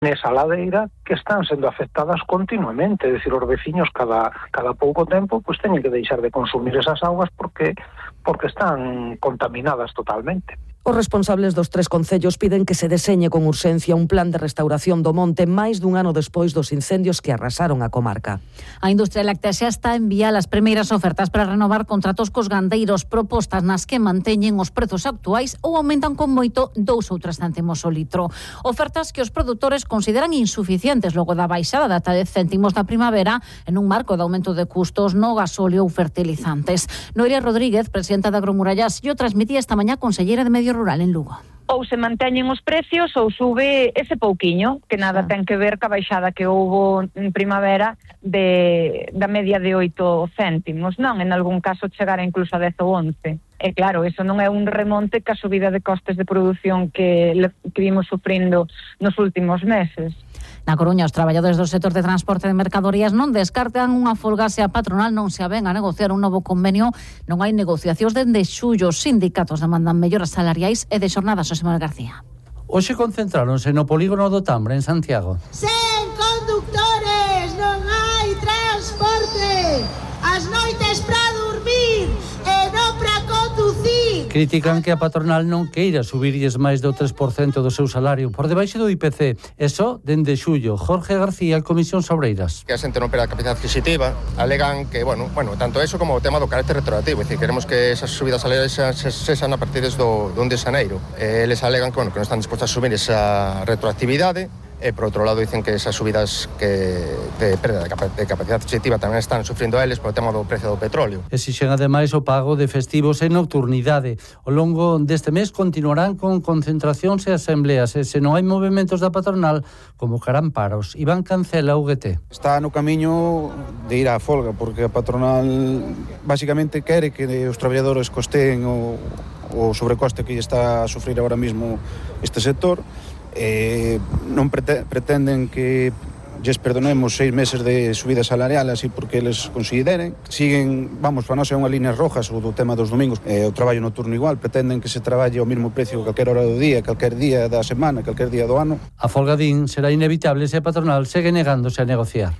nesa ladeira que están sendo afectadas continuamente, é dicir, os veciños cada pouco tempo pois teñen que deixar de consumir esas augas porque están contaminadas totalmente. Os responsables dos 3 concellos piden que se deseñe con urxencia un plan de restauración do monte máis dun ano despois dos incendios que arrasaron a comarca. A industria láctea xa está a enviar as primeiras ofertas para renovar contratos cos gandeiros, propostas nas que manteñen os prezos actuais ou aumentan con moito 2 ou 3 céntimos o litro. Ofertas que os produtores consideran insuficientes logo da baixada de ata 10 céntimos da primavera en un marco de aumento de custos no gasóleo ou fertilizantes. Noelia Rodríguez, presidenta de Agromurallas, o transmitía esta mañá conselleira de Medio Rural en Lugo. Ou se manteñen os precios ou sube ese pouquiño, que nada ten que ver ca baixada que houbo en primavera da media de 8 céntimos, non? En algún caso chegar incluso a 10 ou 11. E claro, eso non é un remonte ca subida de costes de produción que vimos sufrindo nos últimos meses. Na Coruña, os traballadores do sector de transporte de mercadorías non descartan unha folga se a patronal non se aven a negociar un novo convenio. Non hai negociacións dende xullo. Os sindicatos demandan melloras salariais e de xornadas. Xosé Manuel García. Hoxe concentráronse no polígono do Tambre, en Santiago. Sen conductores non hai transporte. As noites para dormir e non para conducir. Critican que a patronal non queira subirlles máis do 3% do seu salario por debaixo do IPC. Eso dende xullo. Jorge García, Comisión Obreiras. Que a xente non perde a capacidade adquisitiva, alegan que, bueno, tanto eso como o tema do carácter retroactivo, é dicir, queremos que esas subidas salariais sexan a partir do 1 de xaneiro. Eles alegan que non están dispostos a subir esa retroactividade. E, por outro lado, dicen que esas subidas de perda de capacidade adquisitiva tamén están sufrindo eles por o tema do precio do petróleo. Exixen ademais o pago de festivos e nocturnidade. Ao longo deste mes continuarán con concentracións e asembleas e se non hai movimentos da patronal convocarán paros. Iván Cancela, UGT. Está no camiño de ir á folga porque a patronal basicamente quere que os traballadores costeen o sobrecoste que está a sufrir agora mesmo este sector. Non pretenden que lles perdonemos 6 meses de subida salarial así porque eles consideren. Siguen, para nós é unha línea rojas o do tema dos domingos, o traballo noturno igual, pretenden que se traballe ao mesmo precio calquera hora do día, calquer día da semana, calquer día do ano. A folga din será inevitable se a patronal segue negándose a negociar.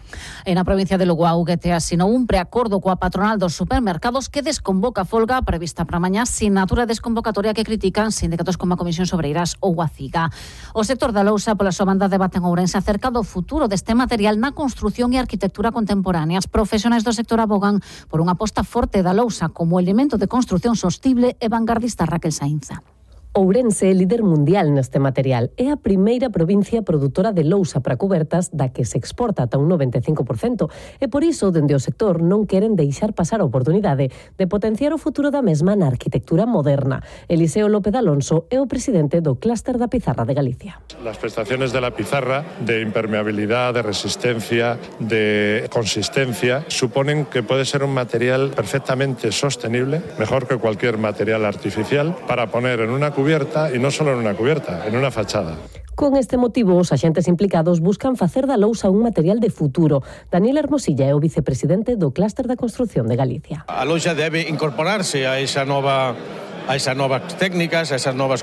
En a provincia de Lugo, a UGT asinou un preacordo coa patronal dos supermercados que desconvoca a folga prevista para mañá, sinatura desconvocatoria que critican sindicatos como a Comisión Obreiras ou a CIGA. O sector da lousa pola súa banda debate en Ourense acerca do futuro deste material na construción e arquitectura contemporáneas. Profesionais do sector abogan por unha aposta forte da lousa como elemento de construción sostible e vanguardista. Raquel Sainza. Ourense é líder mundial neste material. É a primeira provincia produtora de lousa para cubertas da que se exporta ata un 95%. E por iso, dende o sector, non queren deixar pasar a oportunidade de potenciar o futuro da mesma na arquitectura moderna. Eliseo López Alonso é o presidente do Clúster da Pizarra de Galicia. Las prestaciones de la pizarra, de impermeabilidad, de resistencia, de consistencia, suponen que puede ser un material perfectamente sostenible, mejor que cualquier material artificial, para poner en una cubierta, y no solo en una cubierta, en una fachada. Con este motivo, os axentes implicados buscan facer da lousa un material de futuro. Daniel Hermosilla é o vicepresidente do Clúster da Construción de Galicia. A lousa debe incorporarse a esas novas técnicas, a esa nova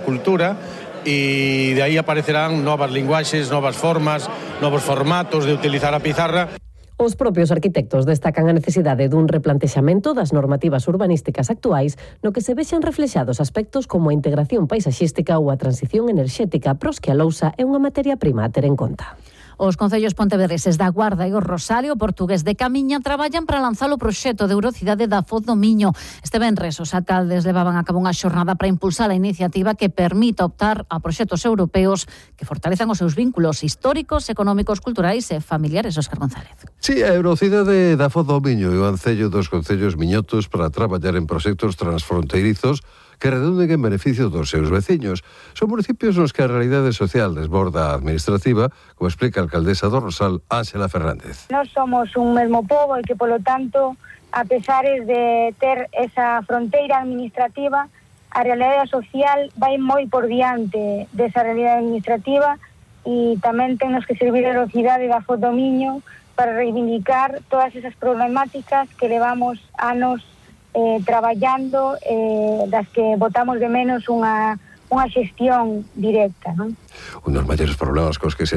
cultura, e de aí aparecerán novas linguaxes, novas formas, novos formatos de utilizar a pizarra. Os propios arquitectos destacan a necesidade dun replantexamento das normativas urbanísticas actuais no que se vexan reflexados aspectos como a integración paisaxística ou a transición enerxética, pros que a lousa é unha materia prima a ter en conta. Os concellos pontevedreses da Guarda e o Rosario Portugués de Camiña traballan para lanzar o proxecto de Eurocidade da Foz do Miño. Este venres os alcaldes levaban a cabo unha xornada para impulsar a iniciativa que permita optar a proxectos europeos que fortalezan os seus vínculos históricos, económicos, culturais e familiares. Óscar González. Sí, a Eurocidade da Foz do Miño e o ancello dos concellos miñotos para traballar en proxectos transfronteirizos que redunden en beneficio dos seus veciños. Son municipios nos que a realidade social desborda a administrativa, como explica a alcaldesa do Rosal, Ángela Fernández. Nós somos un mesmo pobo e que, polo tanto, a pesares de ter esa fronteira administrativa, a realidade social vai moi por diante desa realidade administrativa e tamén temos que servir a Eurocidade da Foz do Miño para reivindicar todas esas problemáticas que levamos anos traballando, das que botamos de menos unha xestión directa, non? Un dos maiores problemas cos que se